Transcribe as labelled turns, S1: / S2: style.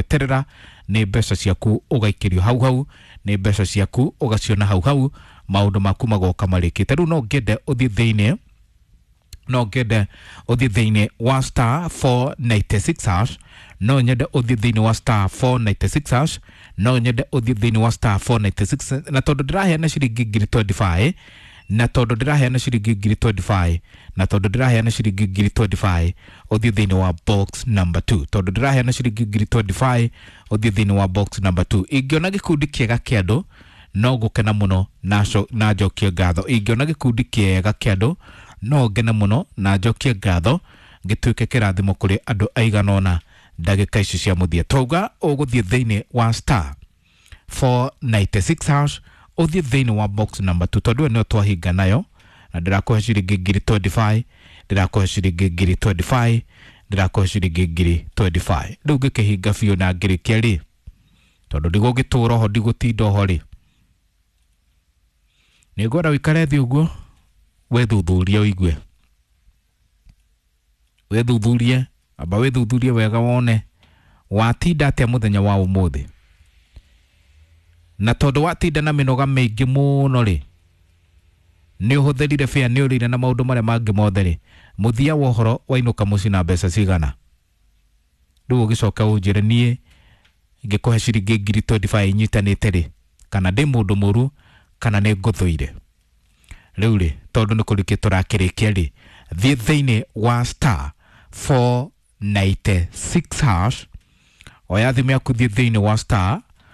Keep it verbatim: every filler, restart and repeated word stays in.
S1: Gweterera nĩ mbeca ciaku ũgaikĩrio hau hau, nĩ mbeca ciaku ũgaciona hau hau, maũndũ maku magoka marĩkĩte. Rĩu no ngende ũthiĩ thĩinĩ no ngende ũthiĩ thĩinĩ wa star four nine six hash, no nyende ũthiĩ thĩinĩ wa star four nine six hash, no nyende ũthiĩ thĩinĩ wa star four nine six. Na tondũ ndĩraheana ciringi ngiri mĩrongo ĩrĩ na ithano, na tondũ ndĩraheana ciringi ngiri mĩrongo ĩrĩ na ithano, na tondũ ndĩraheana ciringi ngiri mĩrongo ĩrĩ na ithano, ũthiĩ thĩinĩ wa box number two. Tondũ ndĩraheana ciringi ngiri mĩrongo ĩrĩ na ithano, ũthiĩ thĩinĩ wa box number two. Ingĩona gĩkundi kĩega kĩa andũ, no ngũkena mũno na co- na njokie ngatho. Ingĩona gĩkundi kĩega kĩa andũ, no ngene mũno na njokie ngatho, ngĩtuĩke kĩrathimo kũrĩ andũ aigana ũna ndagĩka ici cia mũthia. Twauga ũgũthiĩ thĩinĩ wa star four nine six hash, ũthiĩ thĩinĩ wa box number two, tondũ ĩyo nĩyo twahinga nayo, na ndĩrakũhe ciringi ngiri mĩrongo ĩrĩ na ithano, ndĩrakũhe ciringi ngiri mĩrongo ĩrĩ na ithano, ndĩrakũhe ciringi ngiri mĩrongo ĩrĩ na ithano. Rĩu ngĩkĩhinga biũ na ngĩrĩkia rĩ, tondũ ndigũgĩtũra oho, ndigũtinda oho rĩ, nĩngwenda ũikare thĩ ũguo wĩthuthurie, ũigue, wĩthuthurie, amba wĩthuthurie wega wone watinda atĩa mũthenya wa ũmũthĩ. Na tondũ watinda na mĩnoga mĩingĩ mũno rĩ, nĩ ũhũthĩrire bĩa, nĩ ũrĩire na maũndũ marĩa mangĩ mothe rĩ, mũthia wa ũhoro wainũka mũciĩ na mbeca cigana? Rĩu ũgĩcoka ũnjĩre niĩ ngĩkũhe ciringi ngiri mĩrongo ĩrĩ na ithano inyitanĩte rĩ, kana ndĩ mũndũ mũru kana nĩ ngũthũire. Rĩu rĩ, tondũ nĩ kũrĩkia tũrakĩrĩkia rĩ, thiĩ thĩinĩ wa star four nine six hash, oya thimũ yaku, thiĩ thĩinĩ wa star